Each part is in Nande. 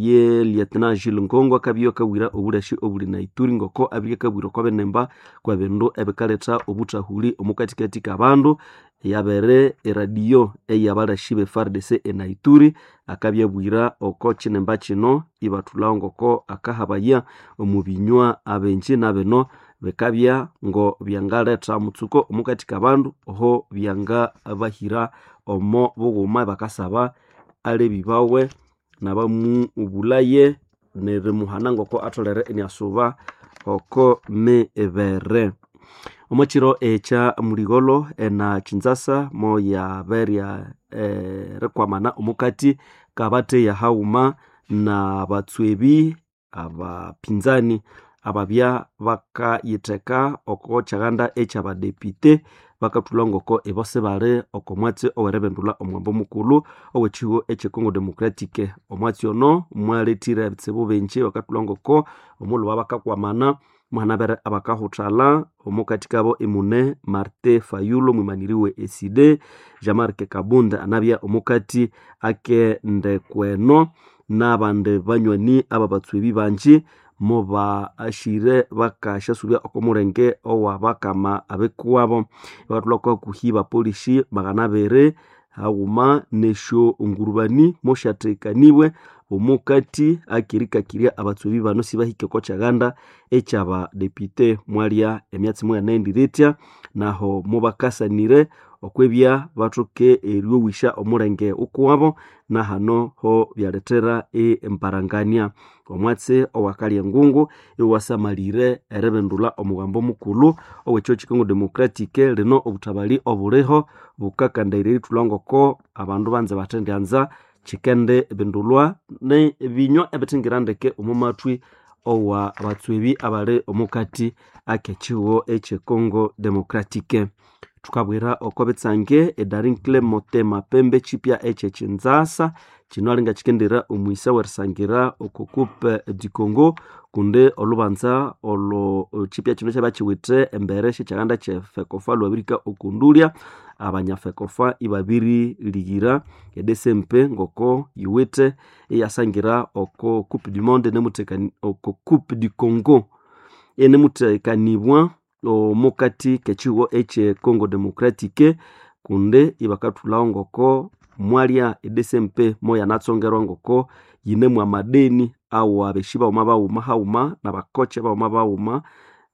Oye Lieutenant Jules Ngongo akabya akabwira obulashi obuli na Ituri ngoko abirye akabwira oko binemba kwebindu ebikaletha obuthahuli omukathikathi kabandu yabere eradio eyabalashi be FARDC ena Ituri akabyabwira oko kinemba kino ibathulhawo ngoko akahabaya omu binywa abenji nabino bikabya ngo byangaletha mutsuko omukathi kabandu oho byangabahira omo bughuma bakasaba alebi bawe nabamubulaye nerimuhana ngoko atholere iniasuba oko mibere. Omwakiro ekya muligholo ena Kinshasa moyaberya erikwamana omukati kabatheya haghuma nabatswebi abapinzani ababya bakayitheka oko kyaghanda ekyabadepite bakathulha ngoko ibo sibali oko mwatsi oweribindulha omughambo mukulhu owekihugho ekye Congo Democratic. Omwatsi ono mwalethire ebitsibu bingi bakathulha ngoko omulhuba bakakwamana muhanabere abakahuthalha omukathi kabo imune Martin Fayulu mwimaniri we ECD, Jean-Marc Kabunda anabya omukati akendekweno n'abandi banywani ababatswebi bangi mubashire bakasyasubya oko mulenge owabakama abikuwabo. Bakathulha oko hakuhi bapolisi 200 haghuma nesyo ngurubani mosyathekanibwe omukati akirikakirya abatswebi bano sibahike oko kyaghanda ekyabadepite. Mwalya emyatsi muyanaghendire ithya naho mubakasanire okwibya bathoke eryowisya omulenge ukuwabo nahano ho byalethera emparangania. Omwatsi owakalya engungu iwasamalire eribindulha omughambo mukulhu owekihugho kye Congo Democratic. Lino obuthabali obuliho bukakandairya erithulha ngoko abandu banze bathendyanza kikende bindulhwa nebinywa ebithingira ndeke omo mathwi owa batswebi abali omukati akekihugho ekye Congo Democratic. Thukabwira oko bitsange eDaring Motema Pembe kipya ekye Kinshasa kino alinga kikendera omwisa werisangira oko Coupe du Congo kundi olubanza olwo kipya kino kyabya embere syekyaganda kye FECOFA lwabirihika okundulya abanya FECOFA ibabirilighira eDCMP ngoko yiwithe iyasangira oko Coupe du Monde oko Coupe du Congo enemuthekanibwa omukati kekihugho ekye Congo Democratic kundi ibakathulhawo ngoko mwalya eDCMP moyanatsongerwa ngoko yinemu amadeni awa beshi baghuma baghuma haghuma nabakoche baghuma baghuma.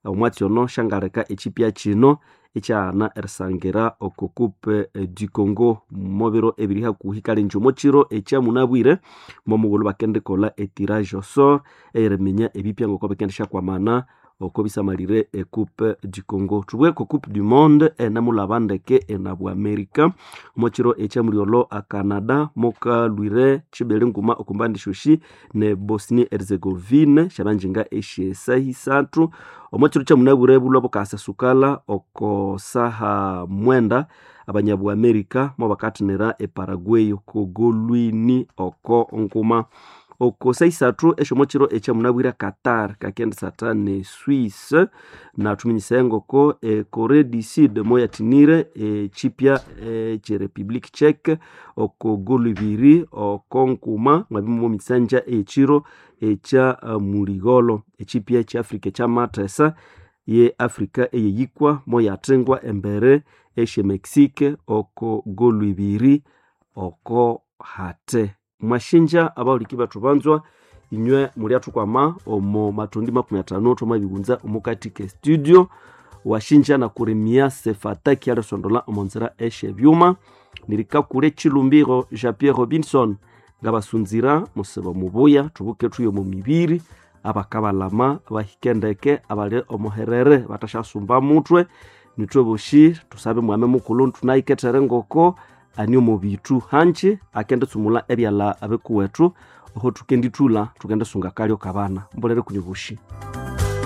Omwatsi ono syangaleka ekipya kino ikyaghana erisangira oko Coupe du Congo mubiro ebiri hakuhi kale inje omwakiro ekyamunabwire momughulhu bakendikolha etirage au sort eyeriminya ebipya ngoko bikendisyakwamana oko bisamalire e Coupe du Congo. Thubughe oko Coupe du Monde enemulhaba ndeke enabwa America omwakiro ekyamulyolho a Canada mukalhwire kibiri nguma okumbandi syosi ne Bosnia Herzegovina syabanjinga esyesaha isathu. Omwakiro kyamunabwire bulhwa bukasasukala oko saha 9 abanyabwa America mobakathinira e Paraguay oko golwini oko nguma. Oko saha isathu esyomwakiro ekyamunabwire Qatar kakendisatha ne Swiss nathuminyisaya ngoko e Corée du Sud moyathinire ekipya ekye Republique Czech oko golu ibiri oko nguma mwabya momisanja eyekiro ekya muligholo. Ekipya ekye Africa ekyamathesa ye Africa eyeyikwa moyathingwa embere esye Mexique oko golu ibiri oko hate. Mwashinja abahuliki bethu banzwa inywe mulyathukwama omo mathundi 50 thwamabighunza omukati ke studio. Washinja nakurimia sefataki alisondola omonzira esyebyuma nirikakule Chilumbiro Jean Pierre Robinson ngabasunzira musiba mubuya thubuke thuye omo mibiri abakabalama bahike ndeke abali omuherere batasyasumba mutwe. Nithwe boshi tusabe mwame mukulhu thunahikethere ngoko ani omo bithu hanji akenditsumula ebyalha abikuwethu oho thukendithulha thukendisunga akalyo kabana. Mbulere kunyu boshi.